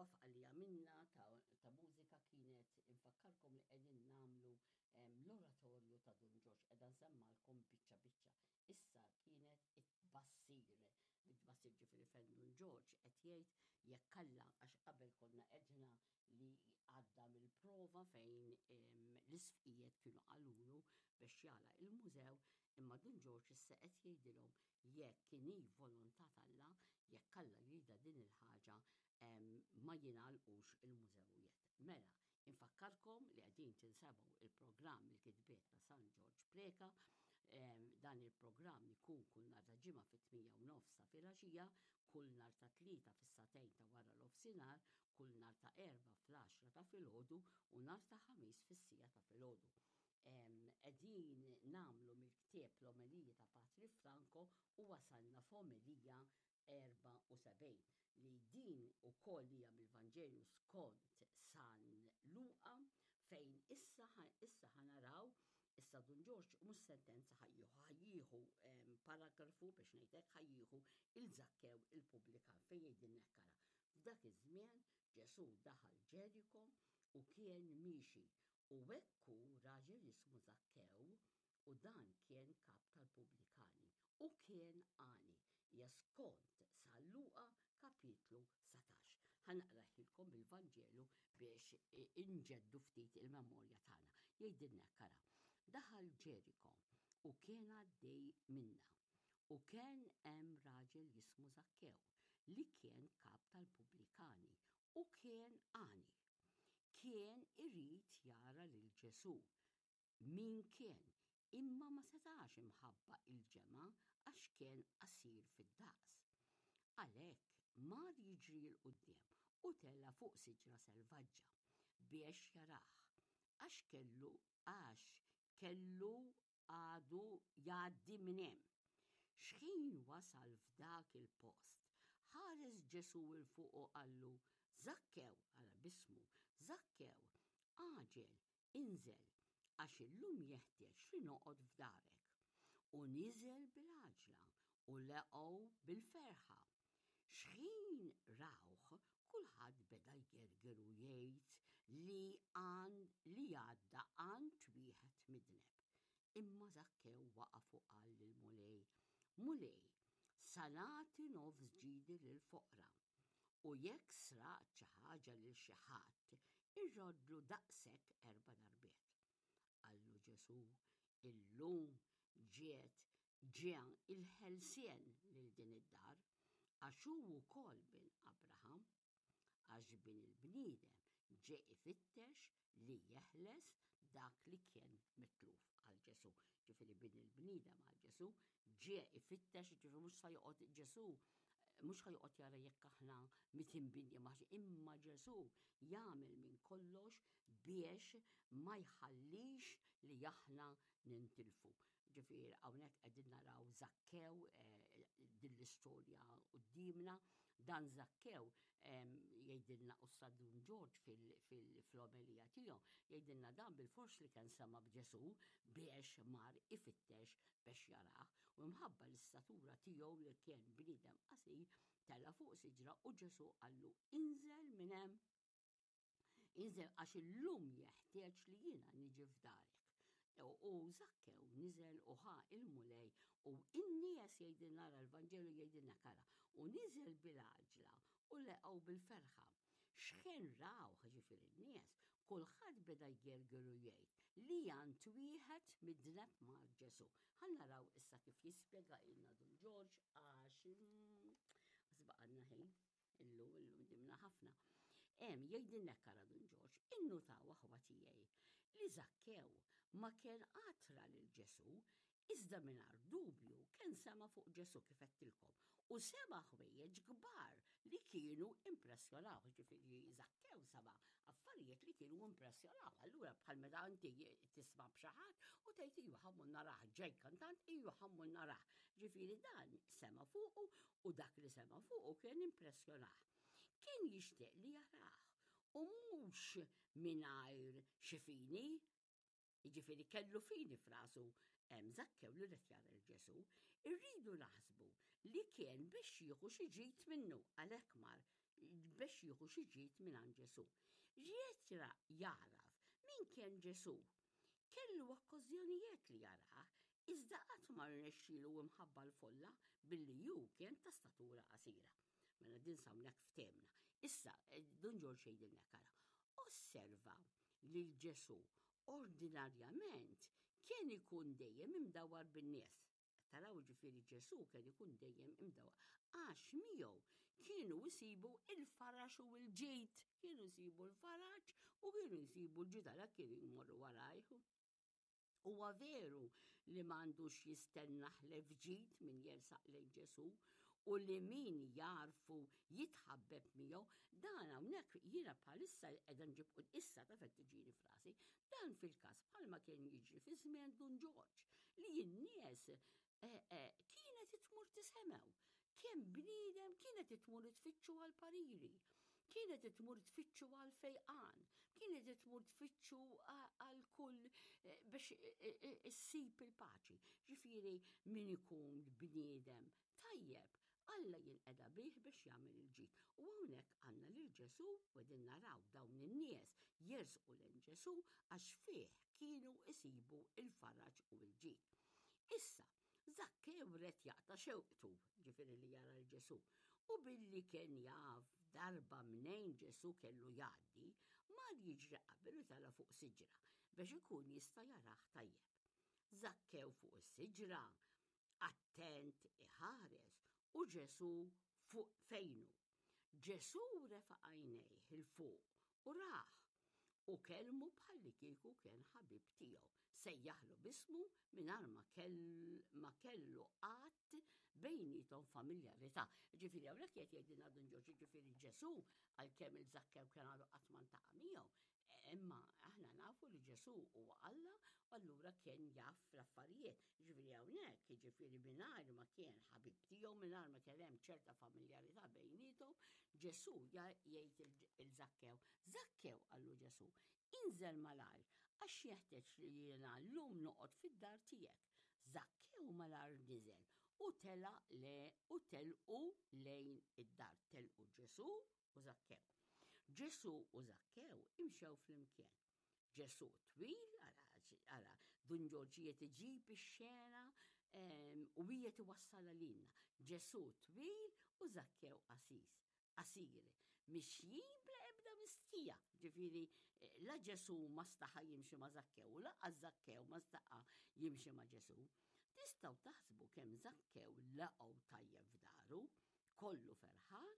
Wafqa li għamilna ta' mużika kienet infakkarkom li qegħdin nagħmlu l-oratorju ta' Dun Ġorġ qiegħda nsemmalkom biċċa biċċa. Issa kienet it-tbassir, bit-tbassir ġifieri fejn Dun Ġorġ qed jgħid jekk Alla għax qabel konna għedna li għadda mill-prova fejn l-isfqijiet kienu qalulu biex jagħlaq il-mużew imma Dun Ġorġ issa qed jgħidilhom jekk inhi volontà t'Alla, jekk Alla jridha din il-ħaġa ma jingħalqux il-mużewijiet. Mela, infakkarkom li qegħdin tinsemgħu il-programm il-kitbiet ta' San Ġorġ Preca, dan il-programm ikun kull nhar ta' ġimgħa fit-8 u nofs ta' filgħaxija, kull nhar ta' tlieta fis-sagħtejn ta' wara l-ofsinhar, kull nhar ta' Erbgħa fl-għaxra ta' filgħodu u nhar ta' Ħamis fis-siegħa ta' filgħodu. Qegħdin nagħmlu mill-ktieb l-Omeliji ta' Patri Franco u wasalna f'omelija 74 li din ukoll hija mill-Vanġelju skont San Luqa fejn issa issa ħanaraw issa Dun Ġorġ mhux sentenza ħajjieħu ħajjieħu paragrafu biex ngħidlek ħajjieħu il-Zakkew il-pubblikan fejn jgħidilna hekk ara. F'dak iż-żmien Ġesù daħal Ġeriko u kien miexi, u hekk hu raġel jismu Żakkew, u dan kien kap tal-pubblikani, u kien għani. Hija skont San Luqa kapitlu 19. Ħa naqraħilkom il-Vanġelu biex inġeddu ftit il-memorja tagħna. Jgħidilna hekk ara. Daħal Ġeriko u kien għaddej minnha. U kien hemm raġel jismu Żakkew, li kien kap tal-pubblikani u kien għani. Kien irid jara lil Ġesù, min kien, imma ma setax imħabba il-ġemgħa għax kien qasir fid-daqs. Għalhekk mar jiġri 'l quddiem u tela' fuq siġra selvaġġa biex jarah, għax kellu għax kellu għadu jgħaddi minn hemm. Xħin wasal f'dak il-post, ħares Ġesù 'l fuq u qallu, Żakkew, ara b'ismu, Żakkew, għaġel, inżel, għax illum jeħtieġ li noqgħod f'darek. U niżel bil-għaġla u leqgħu bil-ferħa. Xħin rawh, kulħadd beda jgerger u jgħid li għand li għadda għand wieħed midneb. Imma Żakkew waqaf u qal lill-Mulej, Mulej, sa nagħti nofs ġidi lill-foqra, u jekk sraqt xi ħaġa lil xi ħadd, irroddlu daqshekk erba' darbiet. Qallu Ġesù, Illum ġiet ġie il-ħelsien lil din id-dar, għax hu wkoll bin Abraham, għax bin il-bniedem ġie ifittex li jeħles dak li kien mitluf għal Ġesù. Ġifieri bin il-bniedem għal Ġesù ġie ifittex, ġifieri mhux sa joqgħod Ġesù mhux ħajoqgħod jara jekk aħna mitinbin imma Ġesù jagħmel minn kollox biex ma jħallix li aħna nintilfu. Ġifieri hawnhekk qegħdin naraw Zakkew eh, din l-istorja qudiemna. Dan Zakkew jgħidilna u Dun Ġorġ fil-omelija tiegħu jgħidilna dan bil-fors li kien sema b'Ġesù biex mar ifittex biex jarah u mħabba l-istatura tiegħu li kien bniedem qasir tela fuq siġra u Ġesù qallu inżel minn hemm Inżel għax illum jeħtieġ li jiena niġi f'darek. U Zakkew niżel u ħa il-Mulej u in-nies jgħidilna ara l-Vanġelu jgħidilna kara u niżel bil-għaġla u leqgħu bil-ferħa. Xħin raw ġifieri n-nies, kulħadd beda jgerger u jgħid li għand wieħed midneb mar Ġesu. Ħa naraw issa kif jispjega ilna Dun Ġorġ għax mm, baqgħalna ħin. Illum, illum dimna ħafna. Hemm jgħidilna kara Dun Ġorġ, innutaw aħwa tiegħi li Zakkew ma kien għatra lil Ġesu, iżda mingħajr dubju kien sema fuq Ġesu kif għedtilkom u sema ħwejjeġ kbar li kienu impressjonaw, ġifieri Zakkew sema affarijiet li kienu impressjonaw. Allura bħal meta inti tisma' b'xi ħadd u tgħid iju ħammur narah ġej kantant iju ħammur narah. Ġifieri dan sema fuqu u dak li sema' fuqu kien impressjonah. Kien jixtieq li jarah u mhux mingħajr xi fini, jiġifieri kellu fini f'rasu hemm Zakkew li rid jara lil Ġesù, irridu naħsbu li kien biex jieħu xi ġid minnu għalhekk mar. biex jieħu xi ġid mingħand Ġesù. Ried jagħraf min kien Ġesù. Kellu okkażjonijiet li jarah, iżda qatt ma rnexxielu imħabba l-folla billi hu kien ta' statura qasira. Mela din s'hawnhekk ftehmna. Issa, Dun Ġorġ jgħidilna hekk ara. Osserva lil Ġesù ordinarjament kien ikun dejjem imdawwar bin-nies. Taraw ġifieri Ġesù kien ikun dejjem imdawwar għax miegħu kienu jsibu il-faraġ u l-ġid, kienu jsibu l-faraġ u kienu jsibu l-ġid għalhekk kienu jmorru warajh. Huwa veru li m'għandux jistenna ħlef ġid min jersaq lejn Ġesù u li min jagħrfu jitħabbeb miegħu, dan hawnhekk jiena bħalissa qiegħda nġib issa taf qed tiġini f'rasi, dan fil-każ bħalma kien jiġri fi żmien Dun Ġorġ li n-nies eh, eh, kienet tmur tisemgħu. Kemm bniedem kienet tmur tfittxu għal pariri, kienet tmur tfittxu għal fejqan, kienet tmur tfittxu għal kull eh, biex issib il-paċi. Ġifieri min ikun bniedem tajjeb, Alla jinqeda bih biex jagħmel il-ġid. U hawnhekk għandna lil Ġesù u qegħdin naraw dawn in-nies jersqu lejn Ġesù għax fih kienu isibu l-faraġ u l-ġid. Issa, Zakkew red jaqta' xewqtu, ġifieri li jara 'l Ġesù, u billi kien jaf darba mnejn Ġesù kellu jgħaddi, mar jiġri qabel u tela' fuq siġra biex ikun jista' jarah tajjeb. Zakkew fuq is-siġra, attent iħares, u Ġesù fuq fejnu. Ġesù refa' għajnejh 'il fuq u rah, u kellmu bħallikieku kien ħabib tiegħu. Sejjaħlu b'ismu mingħajr ma kell, ma kellu qatt bejniethom familjarità. Ġifieri hawnhekk qed jgħidilna Dun Ġorġ, ġifieri Ġesù għalkemm il-Żakkew kien għadu qatt ma ltaqa' miegħu, imma aħna nafu li Ġesù huwa Alla u allura kien jaf l-affarijiet. Ġifieri hawnhekk, jiġifieri mingħajr ma kien ħabib tiegħu, mingħajr ma kien hemm ċerta familjarità bejniethom, Ġesù jgħid il-Żakkew. Żakkew qallu Ġesù, inżel malajr għax jeħtieġ li jiena llum noqgħod fid-dar tiegħek. Żakkew malajr niżel u telaq le u telqu lejn id-dar. Telqu Ġesù u Żakkew. Ġesù u Żakkew imxew flimkien. Ġesù twil, ara, Dun Ġorġ qiegħed iġib ix-xena u qiegħed iwassalha lilna. Ġesù twil u Żakkew qasis, qasir, mixjin bla ebda mistħija. Ġifieri la Ġesù ma staħa jimxi ma' Żakkew u lanqas Żakkew ma staħa jimxi ma' Ġesù. Tistgħu taħsbu kemm Żakkew laqgħu tajjeb f'daru, kollu ferħan,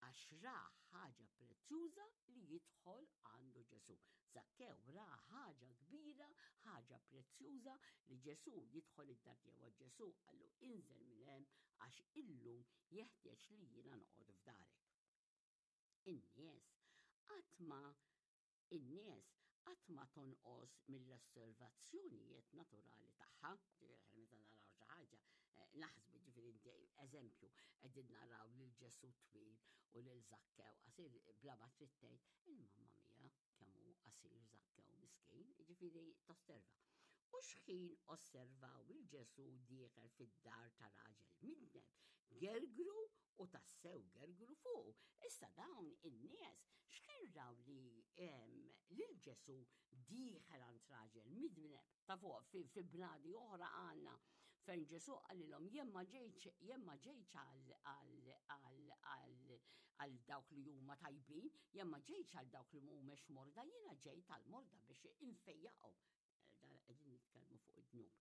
Għax ra ħaġa prezzjuża li jidħol għandu Ġesù. Żakkew ra ħaġa kbira, ħaġa prezzjuża li Ġesù jidħol id-dar tiegħu. Għax Ġesù qallu inżel minn hemm għax illum jeħtieġ li jiena noqgħod f'darek. In-nies qatt ma In-nies qatt ma tonqos mill-osservazzjonijiet naturali tagħha, ġifieri aħna meta naraw xi ħaġa, eh, naħsbu ġifieri inti eżempju qegħdin naraw lil Ġesù twil u lil Żakkew qasir bla ma trid tgħid, il-mamma mia kemm hu qasir Żakkew miskin, ġifieri tosserva. U xħin osservaw il Ġesù dieħel fid-dar ta' raġel midneb, gergru u tassew gergru fuqu. Issa dawn in-nies x'kien raw li lil Ġesù dieħel għand raġel midneb ta' fuq fi bnadi oħra għandna fejn Ġesù qalilhom jien ma ġejtx jien ma ġejtx għal dawk li huma tajbin, jien ma ġejtx għal dawk li mhumiex morda, jiena ġejt għal morda biex infejjaqhom. Dan qegħdin nitkellmu fuq id-dnub.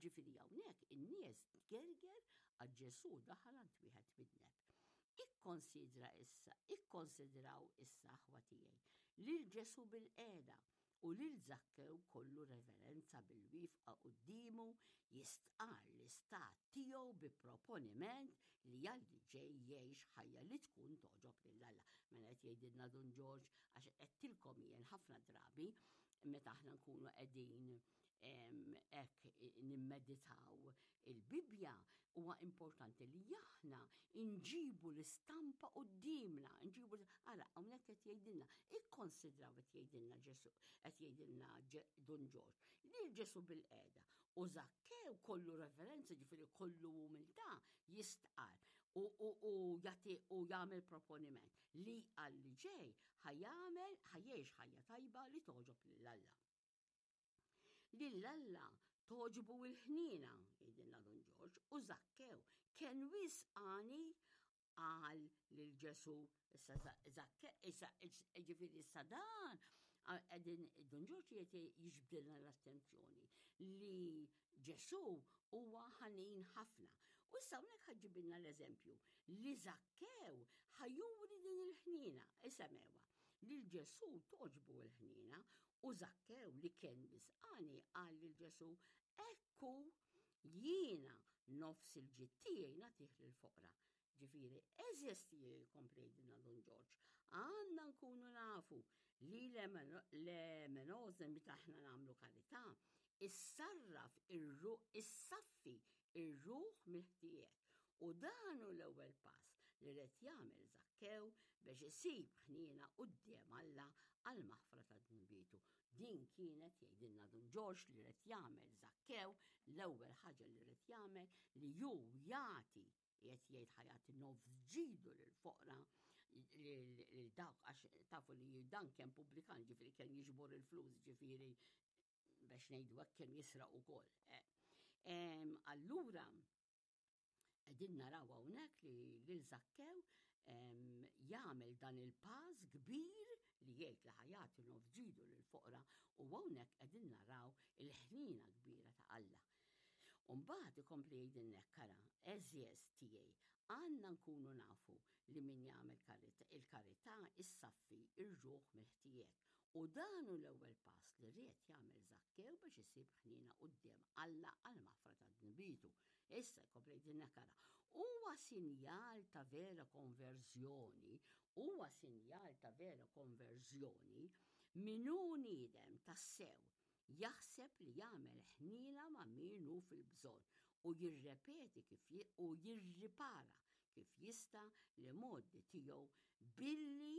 Ġifieri hawnhekk in-nies tgerger għax Ġesù daħal għand wieħed midneb. Ikkonsidra issa, ikkonsidraw issa aħwa tiegħi, lil Ġesù bil-qiegħda u lil Zakkew kollu reverenza bil-wifqa quddiemu jistqarr l-istat tiegħu bi proponiment li għal li ġej jgħix ħajja li tkun togħġob lil Alla. Mela qed jgħidilna Dun Ġorġ għax qedtilkom jien ħafna drabi meta aħna nkunu qegħdin hekk nimmeditaw il-Bibbja huwa importanti li aħna nġibu l-istampa qudiemna, nġibu ara hawnhekk qed jgħidilna, ikkonsidraw qed jgħidilna Ġesu, qed jgħidilna Dun Ġorġ, li Ġesu bil-qeda u Zakkew kollu referenza ġifieri kollu umiltà jistqar u u jagħti u jagħmel proponiment li għal li ġej ħa jagħmel ħa jgħix ħajja tajba li togħġob lil Alla. Lil Alla togħġbu l-ħniena, jgħidilna Dun Ġorġ, u Żakkew kien wisq għani qal lil Ġesù, issa Żakkew, issa ġifieri issa dan qegħdin Dun Ġorġ qiegħed jiġbdilna l-attenzjoni li Ġesù huwa ħanin ħafna. U issa hawnhekk ħa ġġibilna l-eżempju li Żakkew ħa juri din il-ħniena, isemewa, lil Ġesù togħġbu l-ħniena u Żakkew li kien wisqani qal lil Ġesù, hekk hu Jiena nofs il-ġid tiegħi nagħtih lill-foqra. Ġifieri, għeżież tiegħi jkompli jgħidilna Dun Ġorġ, għandna nkunu nafu li l-elemenożem meta aħna nagħmlu karità, issarraf ir-ruħ, issaffi ir-ruħ mill-ħtijiet. U dan hu l-ewwel pass li ried jagħmel Żakkew biex isib ħniena quddiem Alla għall-maħfra ta' dnubietu. Din kienet, jgħidilna Dun Ġorġ, li ried jagħmel Żakkew, l-ewwel ħaġa li ried jagħmel li hu jagħti, qiegħed jgħid ħa jagħti nofs ġidu lill-foqra, lil dawk għax tafu li dan kien pubblikan, ġifieri kien jiġbor il-flus, ġifieri biex ngħidu hekk kien jisraq ukoll. Eh. Allura, Qegħdin naraw hawnhekk li lil Żakkew jagħmel dan il-pass kbir li jgħid li ħajati nofs ġidu lill-foqra u hawnhekk qegħdin naraw il-ħniena kbira ta' Alla. U mbagħad ikompli jgħidilna hekk ara, għeżież tiegħi, għandna nkunu nafu li min jagħmel il-karità issaffi r-ruħ mill-ħtijiet. U dan hu l-ewwel pass li ried jagħmel Żakkew biex isib ħniena quddiem Alla għall-maħfra ta' dnubietu. Issa jkompli jgħidilna hekk ara, huwa sinjal ta' vera konverżjoni, huwa sinjal ta' vera konverżjoni min hu niedem tassew jaħseb li jagħmel ħniena ma' min hu fil-bżonn u jirrepeti kif u jirripara kif jista' l-imgħoddi tiegħu billi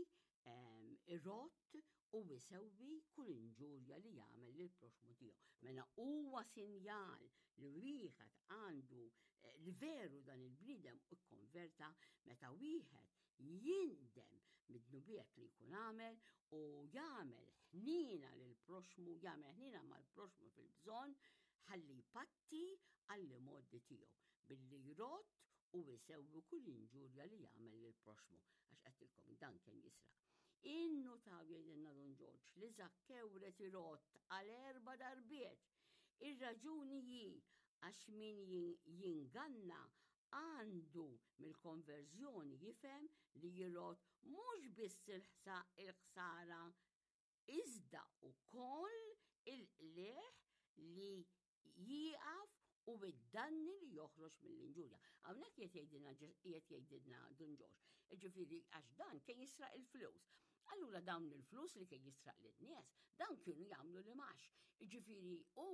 irodd u jsewwi kull inġurja li jagħmel lill-proxxmu tiegħu. Mela huwa sinjal li wieħed għandu eh, li veru dan il-bniedem ikkonverta meta wieħed jindem mid-dnubiet li jkun għamel u jagħmel ħnina lil proxmu, jagħmel ħnina mal-proxmu fil-bżonn ħalli jpatti għall-imgħoddi tiegħu billi jrodd u jsewwi kull inġurja li jagħmel lill-proxxmu, għax għedtilkom dan kien jisraq. Innutaw jgħidilna Dun Ġorġ li Żakkew red irodd għal erba' darbiet. Ir-raġuni hi għax min jinganna għandu mill-konverżjoni jifhem li jrodd mhux biss il-ħsara iżda wkoll il-qligħ li jieqaf u id-danni li joħroġ mill-inġurja. Hawnhekk qiegħed jgħidilna qiegħed jgħidilna Dun Ġorġ. Ġifieri għax dan kien jisraq il-flus. Allura dawn il-flus li kien jisraq lin-nies, dawn kienu jagħmlu li max. Ġifieri u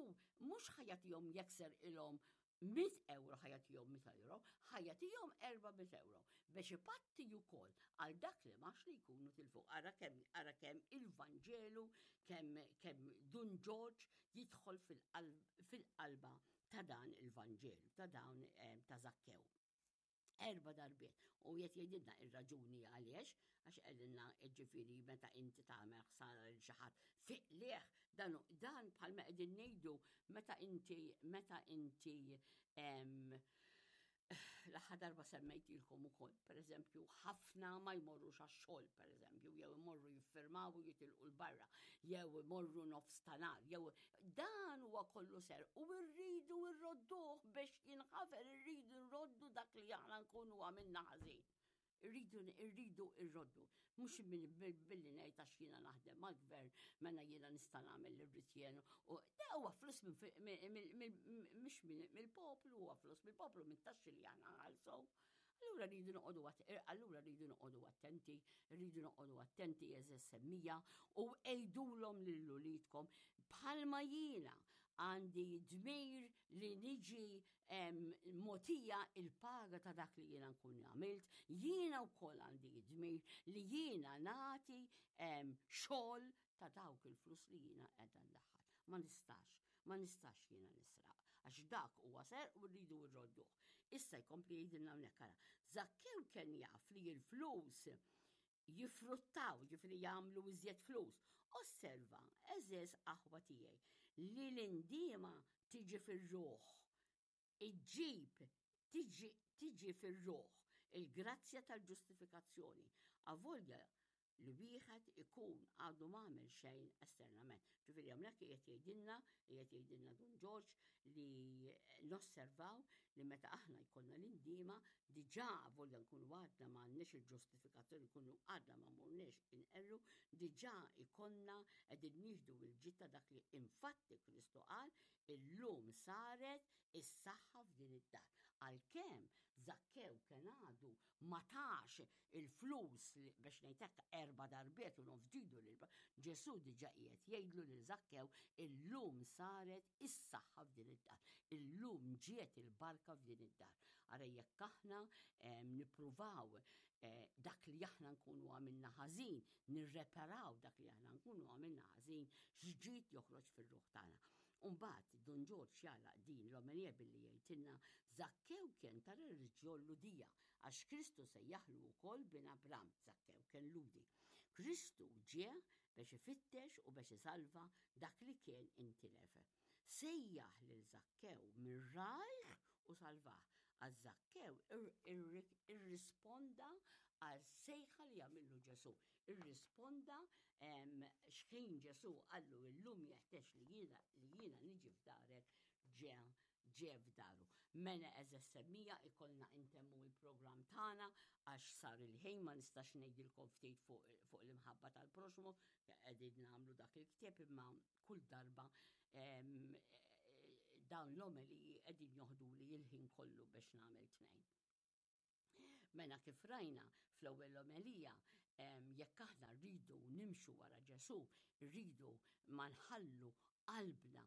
mhux ħajatihom jekser ilhom 100 euro ħa jagħtihom 100 euro, ħa jagħtihom 400 euro biex ipatti wkoll għal dak li max li jkunu tilfu. Ara kemm ara kemm il-Vanġelu, kemm kemm Dun Ġorġ jidħol fil-qalba ta' dan il-Vanġelu, ta' dawn eh, ta' Zakkew. Erba' darbiet. U qed jgħidilna ir-raġuni għaliex, għax qegħdilna ġifieri meta inti tagħmel ħsara lil xi ħadd fiqlieh dan dan bħalma qegħdin ngħidu meta inti meta inti l-aħħar darba semmejtilkom ukoll, pereżempju, ħafna ma jmorrux għax-xogħol, pereżempju, jew imorru jiffirmaw u jitilqu l-barra, jew imorru nofs ta' nar, jew Dan huwa kollu ser u rridu rrodduh biex jinħafer, irridu nroddu dak li aħna nkunu għamilna ħażin. Irridu irridu rroddu. Mhux billi ngħid għax jiena naħdem mal-gvern mela jiena nista' nagħmel li rrid jien. U da huwa flus mhux mill-poplu, huwa flus mill-poplu mit-taxxi li aħna nħallsu. Allura rridu noqogħdu eh, allura rridu noqogħdu attenti, rridu noqogħdu attenti eżeż semmija u għidulhom lil uliedkom bħalma jiena għandi dmir li niġi mogħtija il-paga ta' dak li jiena nkun għamilt, jiena wkoll għandi dmir li jiena nagħti xogħol ta' dawk il-flus li jiena qiegħda ndaħħal. Ma nistax, ma nistax jiena nisraq, għax dak huwa serq u rridu rrodduh. Issa jkompli jgħidilna hawnhekk ara. Zakkew żgur kien jaf li l-flus jiffruttaw, ġifieri jagħmlu iżjed flus. Osserva, għeżież aħwa tiegħi, li l-indiema tiġi fir-ruħ, iġġib, tiġi, tiġi fir-ruħ il-grazzja tal-ġustifikazzjoni, avolja li wieħed ikun għadu m'għamel xejn esternament. Ġifieri hawnhekk qiegħed jgħidilna, qiegħed jgħidilna Dun Ġorġ li nosservaw li meta aħna jkollna l-indiema diġà avolja nkunu għadna m'għandniex il-ġustifikazzjoni, nkunu għadna ma morniex inqerru, diġà jkollna qegħdin nieħdu l-ġid ta' dak li infatti Kristu qal illum saret is-saħħa f'din id-dar. Għalkemm Żakkew kien għadu ma tax il-flus li biex ngħid hekk erba' darbiet u nofs ġidu lil Ġesù diġà qiegħed jgħidlu lil Żakkew illum saret is-saħħa f'din id-dar. Illum ġiet il-barka f'din id-dar. Ara jekk aħna nippruvaw eh, dak li aħna nkunu għamilna ħażin, nirreparaw dak li aħna nkunu għamilna ħażin, x'ġid joħroġ fir-ruħ tagħna. U mbagħad Dun Ġorġ jagħlaq din l-omelija billi jgħidilna Żakkew kien ta' reliġjon Lhudija għax Kristu sejjaħlu wkoll bin Abram, Żakkew kien Lhudi. Kristu ġie biex ifittex u biex isalva dak li kien intilef. Sejjaħ lil Żakkew minn rajh u salvah, għax Żakkew irrisponda għas-sejħa li għamillu Ġesù. Irrisponda x'ħin Ġesù qallu illum jeħtieġ li jiena li jiena niġi f'darek ġe ġe f'daru. Mela għeżeż semmija ikollna intemmu il-programm tagħna għax sar il-ħin ma nistax ngħidilkom ftit fuq fuq l-imħabba tal-proxmu qegħdin nagħmlu dak il-ktieb imma kull darba dawn l-omeliji qegħdin joħduli il-ħin kollu biex nagħmel tnejn. Mela kif rajna fl-ewwel omelija, jekk aħna rridu nimxu wara Ġesù, rridu ma nħallu qalbna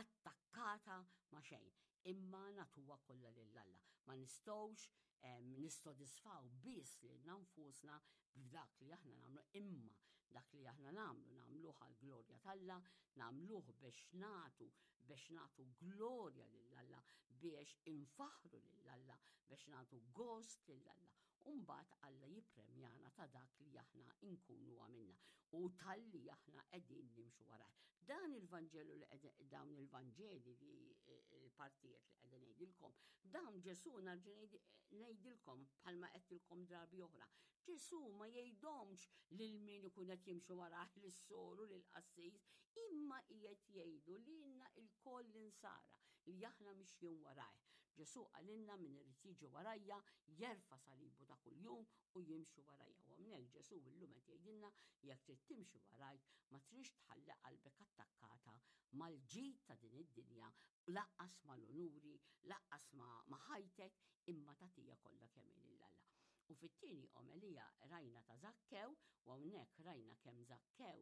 attakkata ma' xejn, imma nagħtuha kollha lil Alla. Ma nistgħux nissodisfaw biss lilna nfusna b'dak li aħna nagħmlu, imma dak li aħna nagħmlu nagħmluh għall-glorja t'Alla, nagħmluh biex nagħtu biex nagħtu glorja lil Alla, biex infaħħru lil Alla, biex nagħtu gost lil Alla. U mbagħad Alla jippremjana ta' dak li aħna nkunu għamilna u talli aħna qegħdin nimxu warajh. Dan il-Vanġelu li dawn il-Vanġeli li l-partijiet li qegħdin ngħidilkom, dawn Ġesù narġa' ngħidilkom bħalma għedtilkom drabi oħra. Ġesù ma jgħidhomx lil min ikun qed jimxi warajh lis-soru lill-qassis, imma qiegħed jgħidu lilna lkoll l-insara li aħna mixjin warajh. Ġesù qalilna min irid jiġi warajja jerfa' salibu ta' kuljum u jimxi warajja. U hawnhekk Ġesù illum qed jgħidilna jekk trid timxi warajk ma tridx tħalli qalbek attakkata mal-ġid ta' din id-dinja, lanqas mal-unuri, lanqas ma' ħajtek, imma tagħtiha kollha kemm hi lil Alla. U fit-tieni omelija rajna ta' Żakkew, u hawnhekk rajna kemm Żakkew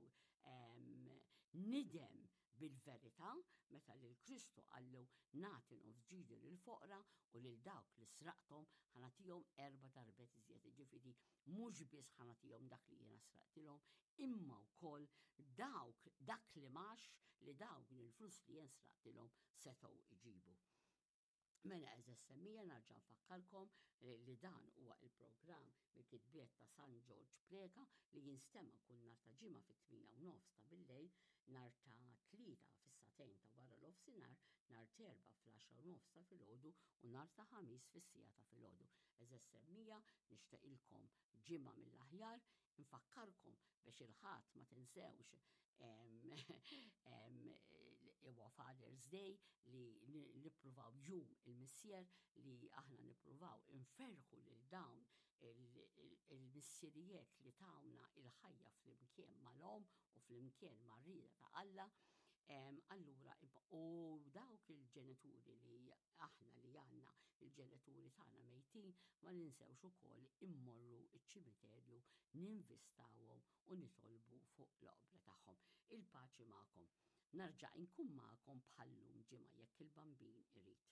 nidem bil-verità meta lil Kristu qallu nagħti nofs ġidi lill-foqra u lil dawk li sraqthom ħa nagħtihom erba' darbiet iżjed. Jiġifieri mhux biss ħa nagħtihom dak li jiena sraqtilhom, imma wkoll dawk dak li m'għax li dawk il-flus li jien sraqtilhom setgħu jġibu. Mela għeżeż semmija narġa' nfakkarkom li dan huwa il-programm mill-kitbiet ta' San Ġorġ Preca li jinstema' kull nhar ta' Ġimgħa fit-tmienja u nofs ta' billejl, nhar ta' Tlieta fis-sagħtejn ta' wara nofsinhar, nhar t'Erbgħa fl-għaxra u nofs ta' filgħodu u nhar ta' Ħamis fis-siegħa ta' filgħodu. Għeżeż semmija nixteqilkom ġimgħa mill-aħjar, Infakkarkom biex il-Ħadd ma tinsewx huwa Father's Day li nippruvaw jum il-missier li aħna nippruvaw inferħu lil dawn il-missirijiet li tawna il-ħajja flimkien mal-omm u flimkien mar-rieda ta' Alla. Allura, u dawk il-ġenituri li aħna li għandna il-ġenituri tagħna mejtin ma ninsewx ukoll immorru ċ-ċimiterju ninvistawhom u nitolbu fuq l-oqbra tagħhom. Il-paċi magħkom. Narġa' inkun magħkom bħal-lum ġimgħa jekk il-Bambin irid.